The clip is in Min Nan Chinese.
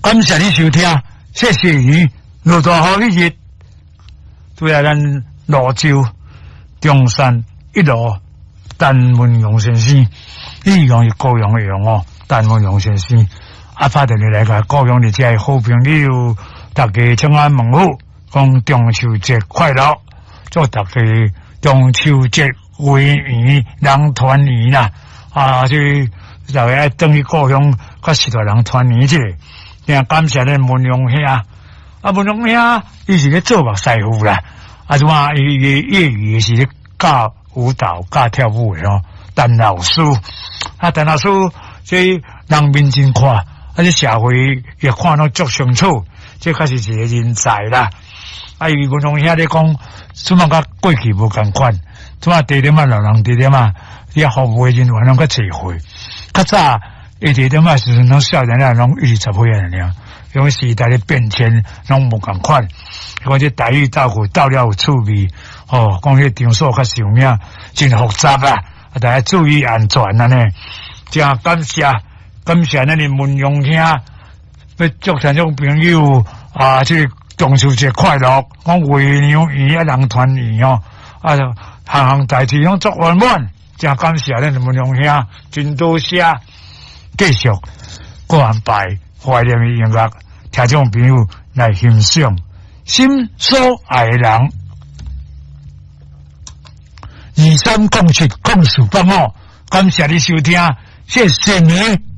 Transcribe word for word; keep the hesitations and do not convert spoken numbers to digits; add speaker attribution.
Speaker 1: 感謝你收聽，謝謝你，落大雨彼日，拄仔咱蘆洲中山一路陳文榮先生，伊用是高雄的榮哦，陳文榮先生，啊，拍電話來共高雄佇遮的好朋友，大家請安問好，講中秋節快樂，祝大家中秋節月圓人團圓啦！啊，這大家愛轉去故鄉，佮序大人團圓一下。定感謝咱文榮兄，啊，文榮兄伊是咧做目師傅啦，啊，怎啊？伊伊業餘是咧教舞蹈、教跳舞的吼。陳老師，啊，陳老師這人面真看，啊，這社會也看攏足清楚，這確實是一個人才啦。啊，伊文榮兄咧講，怎啊佮過去無仝款，怎啊地點仔老人地點仔，遐服務的人員攏較濟歲，較早伊地點仔時陣攏少年仔攏二十歲爾，因為時代的變遷攏無仝款。講這台語鬥句鬥了有趣味，哦，講彼場所較受名，真複雜啊！大家注意安全按呢。真感謝感謝咱的文榮兄，欲祝聽眾朋友啊，這個中秋節快樂，講月娘圓啊，人團圓哦，啊，項項代誌攏足圓滿，真感謝咱的文榮兄，真多謝。繼續閣安排懷念的音樂，聽眾朋友來欣賞。心所愛的人，二三零七零四八五，感謝你收聽，謝謝你。